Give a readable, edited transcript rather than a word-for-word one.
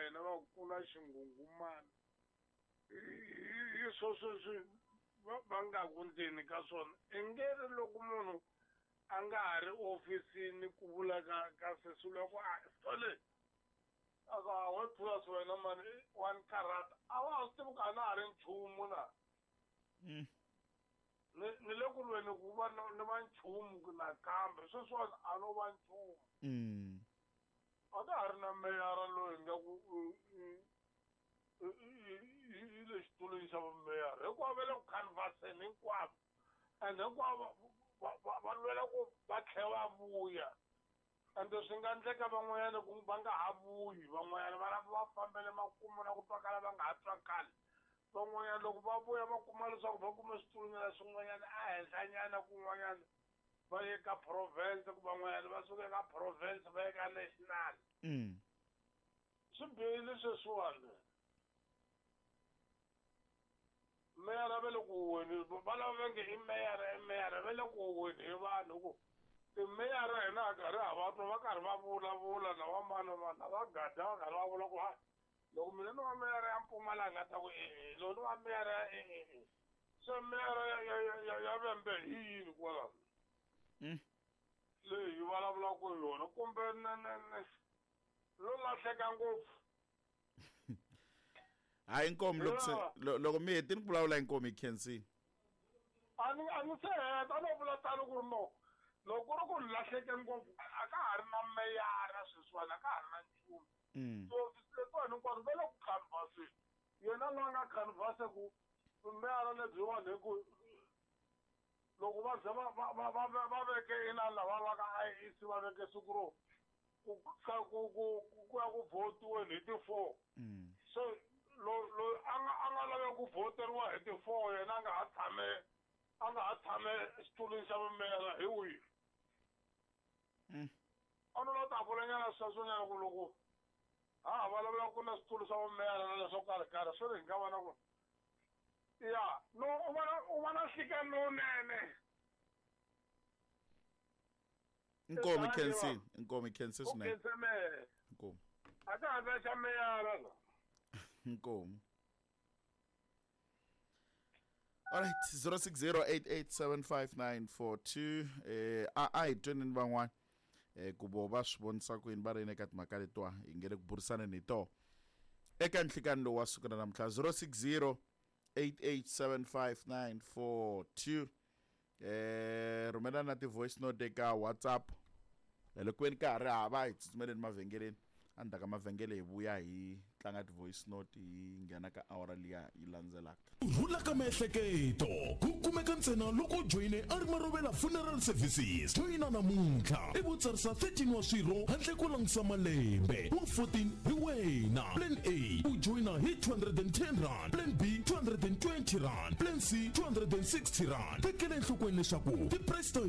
hina va ku na xinghunghumana hi sweswo swi va nga ku ndzeni ka swona i nge ri loko munhu a nga ha ri ofisini ku vula ka sesi luya ku a sole a ku a we Thulas wena mani wa ni karhata a wa ha swi tivi ku a na ha ri nchumu na ni le ku lweni ku va ni va nchumu nakambe sweswiwani a no va nchumu a ka ha ri na meyara loyi nga ku yi le xitulwini xa vumeyara hinkwavo va le ku canvaseni hinkwavo and hinkwavo va lwela ku va tlhela va vuya ende swi nga endleka van'wanyana ku va nga ha vuyi van'wanyana va lava va fambele makumu na ku twakala va nga ha twakali van'wanyana loko va vuya va kuma leswaku va kume switulunyana swin'wanyana ehenhlanyana kun'wanyana va ye ka province ku van'wanyana va suka ka province va ye ka national swi bihile sweswiwani meyara va le ku weni va lava va nge i meyara i meyara va le ku weni hi vanhu ku timeyara hina ha karhi ha va twa va karhi va vulavula na va mani vanhu va gada va karhi va vula ku ha loko mina ni va meyara ya Mpumalanga ta ku e loko ni va meyara ya e se meyara ya Vhembe hi yini kwalano leyi hi vulavulaka hi yona kumbe lo lahleka ngopfu. Hayi Nkomi loko se loko mi hetini ku vulavula Nkomi hi khensini. A ni se heta a no vula tano ku ri no loko ku ri ku lahleke ngopfu a ka ha ri na meyara sweswiwani a ka ha ri na nchumu. Tihofisi letiwani hinkwato va le ku canvaseni yena loyi a nga canvase ku meyara lebyiwani hi ku loko va ze va veke inani lava va ka IEC va veke siku ro ku ya ku votiweni hi ti-4 so loyi a nga lave ku voteriwa hi ti-4 yena a nga ha tshame xitulwini xa vumeyara hi wihi a no la ta vulanyana sweswonyana ku loko ha vulavula ku na switulu swa vumeyara na leswo karhi karhi swi ri hi nga va na ku ya no u va na nhlikani lowunene. Nkomi khensini Nkomi khensi swinene Nkomi a ka ha ta xa meyara la Nkomi. Alright, 0608875942 a hi tweneni van'wana ku vo va swi vonisa ku yini va ri yini eka timhaka letiwa hi nge le ku burisaneni hi toho eka nhlikani lowu wa siku ra namuntlha 0608875942 rhumela na ti-voice note eka WhatsApp loko ku veni ka ha ri hava hi tsutsumeleni mavhengeleni endzhaku ka mavhengele hi vuya hi tlanga ti-voice note hi nghena ka awara liya yi landzelaka. Ku rhula ka miehleketo ku kumeka ntsena loko u joyine Arimarovela Funeral Services. Joyina namuntlha ivi u tsarisa 13 wa swirho handle ko langusa malembe. Wa 14 hi wena. Plan A u joyina hi R210, Plan B R220, Plan C R260. Tekela enhlokweni leswaku ti-price ta.